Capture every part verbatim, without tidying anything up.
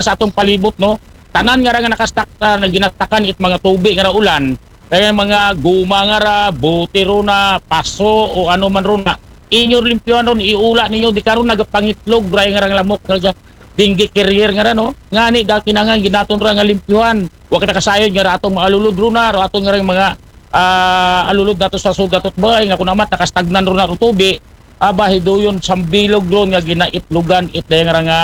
sa atong palibot, no? Tanan nga ra nga nakastak, ah, na ginatakan it mga tubi nga ra ulan, kaya mga guma nga ra, bote ro na, paso, o ano man ro na, inyo limpyuhan ron, iula ninyo, di karon nagapangitlog ra nga rang lamok nga dengue carrier nga ra, no? Ngani, da kinahanglan ginaton ra nga limpyuhan. Wa kita kasayod nga ra atong mga alulod ro na, ro atong nga rang mga, ah, alulod nato sa sugat ot bay, nga kun amat nakastagnan ro na ro tubi, aba, hiduyon sambilog ron nga ginaitlogan it dayang ra nga,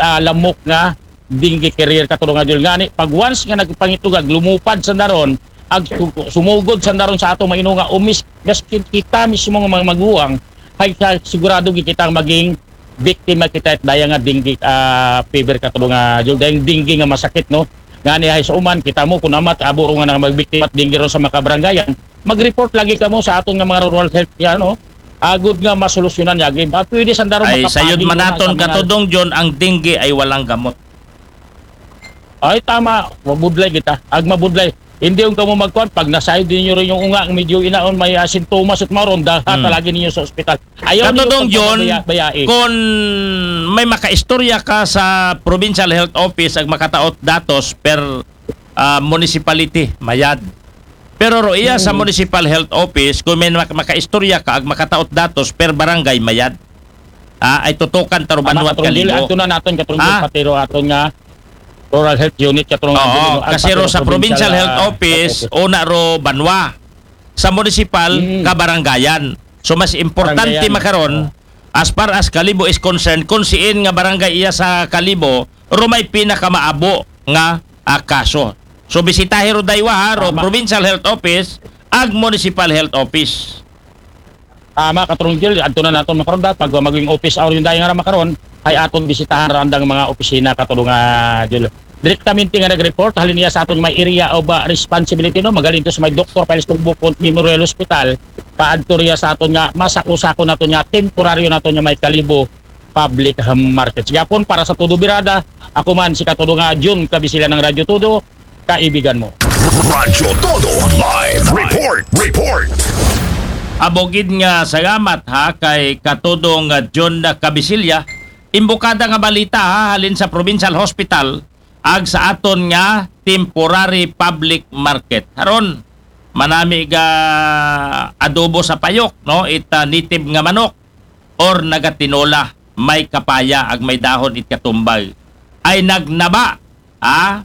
ah, lamok nga dengue carrier, katulong nga Jul. Ngani, pag once nga nagpangitlog, ag lumupad sa naron, ag su-, sumugod sa naron sa ato mainunga, umis, gaskin kita mismo nga mga maguwang, hay sa sigurado gid kita maging biktima kita it daya nga dengue, ah, fever, katulong nga Jul. Dayang dengue nga masakit, no? Ngani, hay sa uman, kita mo, kun amat, abo ro nga magbiktima dengue ron sa makabarangayan, mag-report lagi kamo sa aton nga mga rural health, yan, no? Agud nga masolusyonan niya, agi. Ah, pwede sa naron ay, sayod makapagi man na naton, sa mga katudong John, ang dengue ay walang gamot. Ay, tama. Mabudlay kita. Ag mabudlay. Hindi yung kamo magkuhan, pag nasayod ninyo rin yung unga, ang medyo inaon, may, ah, sintomas at maron, daha Hmm. talagi ninyo sa ospital. Ayaw ninyo Katudong John, pagpabaya-, bayai. Kung may makaistorya ka sa Provincial Health Office, ag makataot datos per, ah, municipality, mayad. Pero ro iya sa Hmm. Municipal Health Office, kung may mak-, makaistorya ka, ag makataot datos per barangay, mayad. Ah, ay tutukan ta ro Tama, banwa at Katrong Gil, kalibo. Ato na naton, Katrong Gil, Ah? pati ro aton nga Rural Health Unit, Katrong Oo, Gil, no? At kasi pati ro ro sa Provincial, Provincial Health ah, Office, Health Office. Una ro banwa. Sa municipal, Mm. kabarangayan. So, mas importante Baranggayan. makaron, Oo. as far as Kalibo is concerned, kung siin nga barangay iya sa Kalibo, ro may pinakamaabo nga, ah, kaso. So, bisitahi ro daywa, ha, ro Tama. Provincial Health Office, ag Municipal Health Office. Tama, Katrong Gil, adto na naton makaron da, pag maging office hour yung dayang nga makaron, ay aton bisitahan ra andang mga opisina, katulong nga Gil. Direktamente nga nag-report, halin niya sa aton may area of, uh, responsibility, no? Magaling to sa may Doktor Pius Tugbucon Memorial Hospital, paadto riya sa aton nga masako-sako naton nga temporaryo naton nga may Kalibo Public Market. Gapon para sa Todo Birada, ako man si Katudo nga Jun Kabisila ng Radyo Todo, kaibigan mo. Radyo Todo Live Report. Report. Abogid nga salamat ha kay Katudong John Kabisilya. Imbukada nga balita ha, halin sa Provincial Hospital, ag sa aton nga temporary public market. Haron, manami ga adobo sa payok, no? It, ah, native nga manok or nagatinola, may kapaya ag may dahon it katumbag. Ay nagnaba, ha?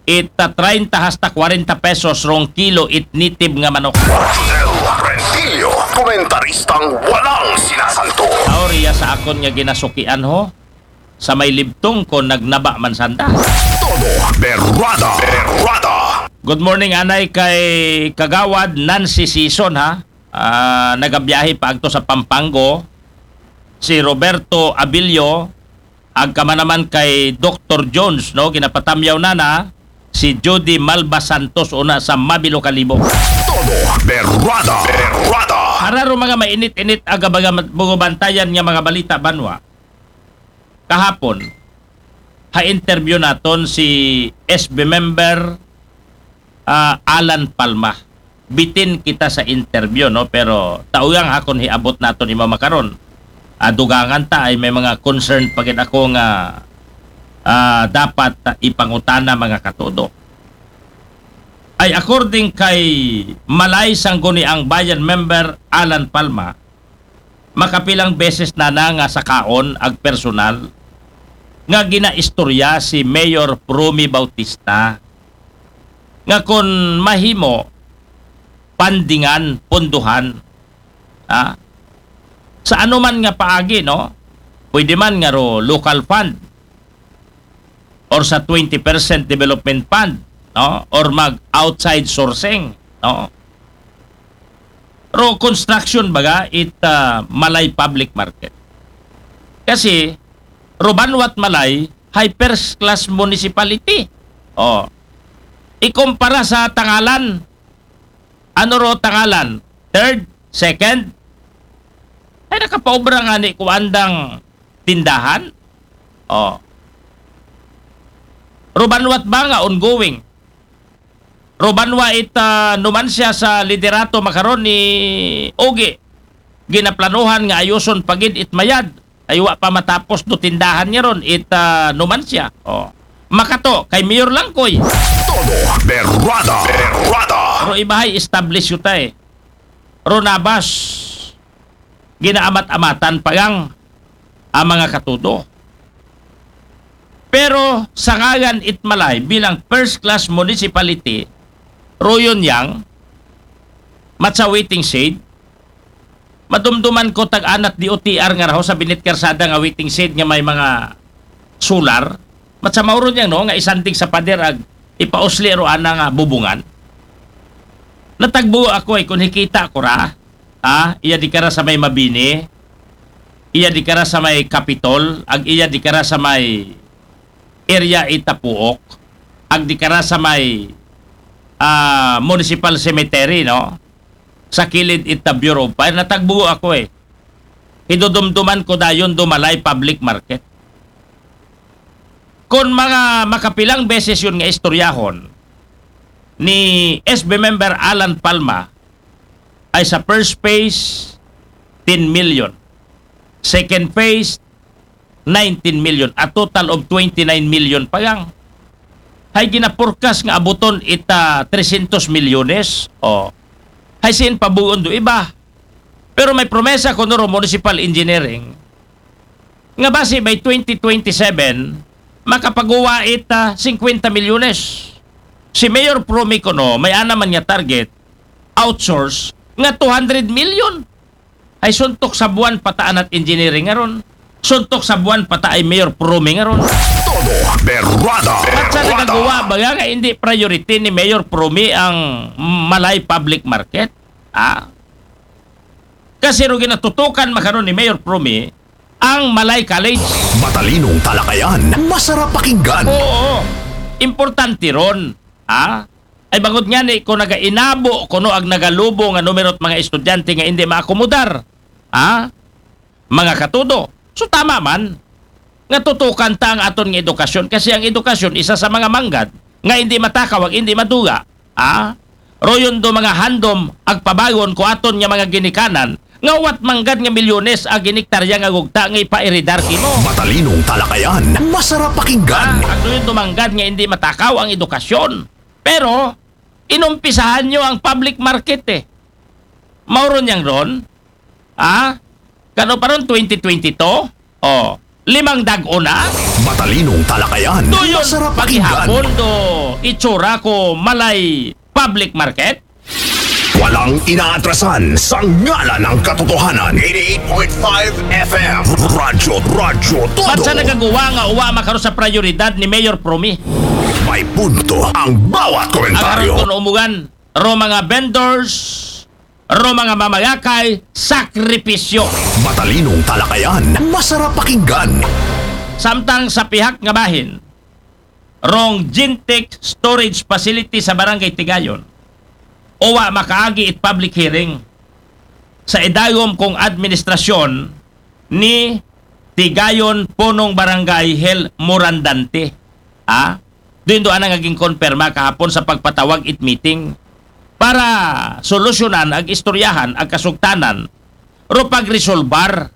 It, ah, treinta hasta kwarenta pesos rong kilo it native nga manok. Rodel Rentillo, komentaristang walang sinasanto. Aw, riya sa akon nga ginasukian ho, sa may libtong ko nagnaba man sanda. Todo Berrada. Berrada. Good morning, anay kay Kagawad Nancy Sison, ha? Ah, nagabiyahe pa agto sa Pampango. Si Roberto Abilio, agka man naman kay Doktor Jones, no? Ginapatamyaw na na si Judy Malva Santos una sa Mabilo Kalibo. Todo Berrada. Berrada. Para ro mga mainit-init aga baga bugobantayan nga mga balita banwa. Kahapon, ha interview naton si S B member, ah, Alan Palma. Bitin kita sa interview, no? Pero taugang akon hiabot naton ima makaron. Ah, dugangan ta ay may mga concern pa gid ako nga, ah, dapat, ah, ipangutana, mga katudo. Ay according kay Malay Sangguniang Bayan member Alan Palma, makapilang beses na na nga sakaon ag personal nga ginaistorya si Mayor Promy Bautista nga kon mahimo, pandingan, pondohan, ha? Sa anuman nga paagi, no? Pwede man nga ro local fund or sa twenty percent development fund, no? Or mag outside sourcing, no? Ro construction baga it, ah, Malay public market. Kasi ro banwa't Malay, hay first class municipality. Oh. Ikumpara sa Tangalan, ano ro Tangalan? Third? Second? Ay, nakapaobra nga ni kuandang tindahan? Oh. Ro banwa't ba nga ongoing? Ro banwa it, ah, numan siya sa liderato makaron ni Ogie. Ginaplanuhan nga ayuson pagid it mayad. Ay wa pa matapos do tindahan niya ron, it, ah, Numancia. Oh. Makato, kay Mayor Langkoy. Todo berrada, berrada. Pero ibahay establish yu ta eh. Ronabas, ginaamat-amatan pa yang ang mga katudo. Pero sa ngalan it Malay bilang first class municipality, royon yang matsa waiting shed, madumduman ko tag-anat D O T R nga raho sa binit karsada nga waiting shed nga may mga solar, matsa mauron yang no, nga isandig sa pader ag ipausli ro ana nga bubungan. Natagbo ako eh, kung hikita ko ra, ah, iya di kara sa may Mabini, iya di kara sa may Capitol, ag iya di kara sa may area Itapuok, ag di kara sa may ah, municipal cemetery, no? Sa kilid ita Bureau of Fire, natagbo ako eh. Hidudumduman ko dayon do Malay public market. Kon mga makapilang beses yun nga istoryahon ni S B member Alan Palma, ay sa first phase, ten million. Second phase, nineteen million. A total of twenty-nine million pa yang. Hay ginaporkas nga abuton ita tresyentos milyones. Oh. Hay sin pabuon do iba. Pero may promesa ko nuro municipal engineering nga basi by twenty twenty-seven, makapagawa ita singkwenta milyones. Si Mayor Promi kuno, may ana man nga target, outsource, nga two hundred million. Ay suntok sa buwan pata anat engineering nga ron. Suntok sa buwan pata ay Mayor Promi nga ron. Todo berrada, At sa berrada. nagagawa ba nga hindi priority ni Mayor Promi ang Malay Public Market? Ah? Kasi ro ginatutukan makaron ni Mayor Promi ang Malay College. Matalinong talakayan, masarap pakinggan. Oo. Importante ron. Ha? Ay bangod nga ni kung nagainabo kuno ag nagalubo nga numero at mga estudyante nga hindi maakomodar. Ha? Mga katudo. So tama man nga tutukan ta ang aton nga edukasyon kasi ang edukasyon isa sa mga manggad nga hindi matakaw ag hindi maduga. Ha? Royon do mga handom ag pabayon ko aton nga mga ginikanan nga wat manggad nga milyones ag giniktarya nga gugta nga ipairidar kimo. Matalinong talakayan, masarap pakinggan. Ah, ano yung dumanggad nga hindi matakaw ang edukasyon? Pero, inumpisahan nyo ang public market eh. Mauron yang ron? Ah? Kano pa ron, twenty twenty-two? Oh, limang dag-o na? Matalinong talakayan, Doon masarap pakinggan. paghihapon do itsura ko Malay Public Market? Walang inaatrasan sa ngalan ng katotohanan. Eighty-eight point five F M. Radyo, Radyo, Todo. Ba't sa nagagawa nga uwa makaroon sa prioridad ni Mayor Promi? May punto ang bawat Agaron komentaryo. Ko umugan, ro mga vendors, ro mga mamagakay, sakripisyo. Matalinong talakayan, masarap pakinggan. Samtang sa pihak nga bahin, rong Gentech Storage Facility sa Barangay Tigayon, uwa makaagi it public hearing sa idayom kong administrasyon ni Tigayon Punong Barangay Hel Morandante. Ha? Doon doon ang naging konperma kahapon sa pagpatawag it meeting para solusyonan ag istoryahan ag kasugtanan ro pagresolbar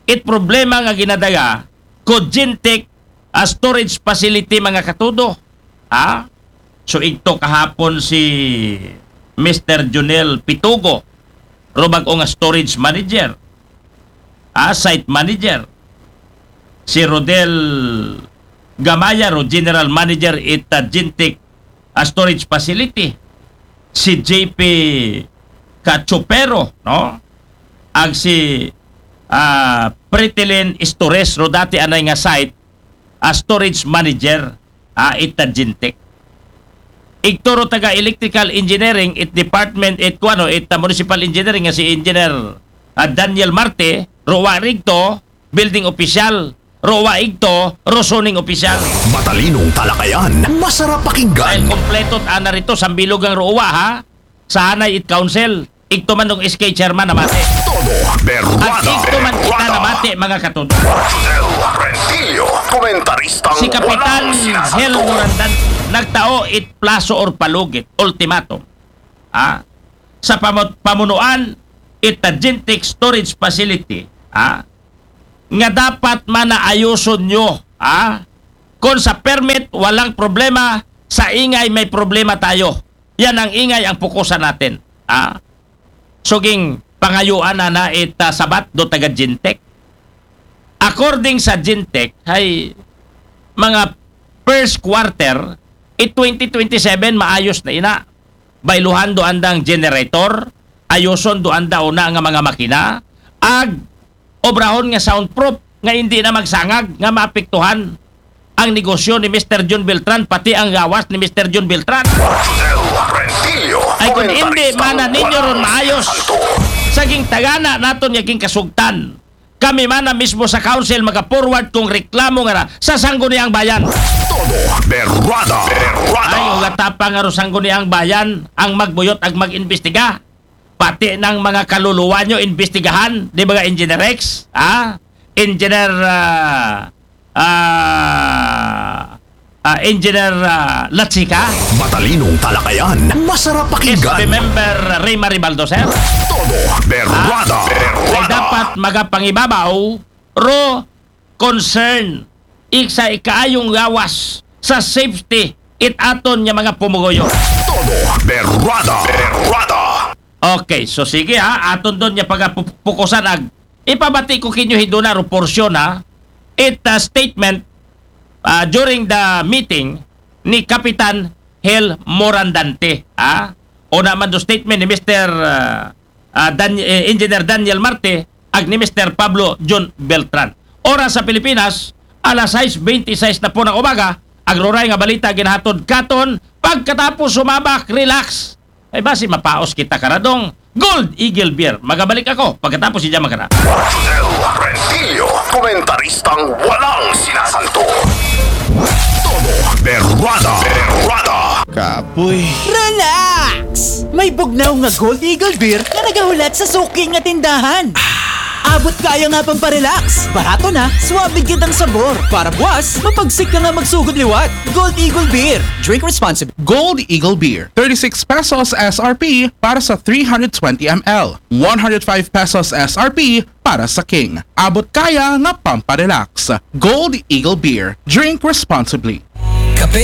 it problema nga ginadaya ko Gentech, ah, storage facility, mga katudo. Ha? So igto kahapon si Mister Junel Pitugo, ro bag-o nga storage manager, ah, site manager. Si Rodel Gamaya, ro general manager it, ah, Gentech, ah, storage facility. Si J P Cachupero, no? Ag si, ah, Pretilin Istores, ro dati anay nga site, ah, storage manager, ah, ita Gentech. Igto ro taga electrical engineering it department it kuano it, ah, municipal engineering nga si engineer, ah, Daniel Marte, ro wa rigto, building official, ro wa igto, ro zoning official. Matalinong talakayan, masarap Dahil pakinggan. Kompleto ana rito, sambilog ang ro wa, ha? Sa hanay it council, igto man dong S K chairman namate. Todo At berrada. igto man kita Berrada. Namate, mga katudo. Josel Rentillo, komentaristang Si Kapitan walang Hel sinasagot. Morandan nagtao it plaso or palugit, ultimatum. Ah? Sa pamut- pamunuan it Gentech Storage Facility, ah? nga dapat man na ayuson nyo, ha? Kung sa permit, walang problema. Sa ingay, may problema tayo. Yan ang ingay, ang pukusan natin. Ha? Suging pangayuan na na it, ah, sabat do taga Gentech. According sa Gentech, ay mga first quarter, it twenty twenty-seven, maayos na ina. Bayluhan do andang generator, ayuson do anda una nga mga makina, ag obrahon nga soundproof nga hindi na magsangag nga maapektuhan ang negosyo ni Mister John Beltran, pati ang gawas ni Mister John Beltran. Rodel Rentillo. Ay kung hindi Komentaristang man na ninyo ron walang maayos, santo. Saging tagana naton nga kasugtan. Kami man na mismo sa council maka-forward kung reklamo nga na sa Sangguniang Bayan. Todo berrada. Berrada. Ay, ugatapa nga ro Sangguniang Bayan ang magbuyot ag mag-imbestiga. Pati ng mga kaluluwa nyo, imbestigahan. Di ba nga, Engineer Rex? Ha? Engineer, ah, ah, ah, Engineer ah, Latsika? Matalinong talakayan. Masarap Yes, pakinggan. Member Ray Maribaldo, sir? Todo berrada. Ay Berrada. dapat magapangibabaw ro concern ik sa ikaayong gawas sa safety it aton nga mga pumugoyo. Todo berrada. Berrada. Okay, so sige ha, aton don nga pagapukusan ag ipabati ko kinyo hiduna ro porsyon ha, it uh, statement uh, during the meeting ni Kapitan Hel Morandante ha, o naman do statement ni Mister uh, uh, Dan- eh, Engineer Daniel Marte ag ni Mister Pablo John Beltran. Oras sa Pilipinas, alas sais bente sais na po ng umaga, ag ruray nga balita ginahatod katon, pagkatapos sumabak, relax. Ay basi mapaos kita karadong Gold Eagle Beer. Magabalik ako pagkatapos si Jama Kara. Rodel Rentillo, komentaristang walang sinasanto. Todo berrada. Berrada. Kapoy. Relax! May bugnaw nga Gold Eagle Beer nga nagahulat sa suki nga tindahan. Abot kaya nga pamparelax. Barato na, suabe kitang sabor. Para buwas, mapagsik ka nga magsugod liwat. Gold Eagle Beer. Drink responsibly. Gold Eagle Beer, thirty-six pesos S R P para sa three hundred twenty M L, one hundred five pesos S R P para sa King. Abot kaya nga pamparelax. Gold Eagle Beer. Drink responsibly.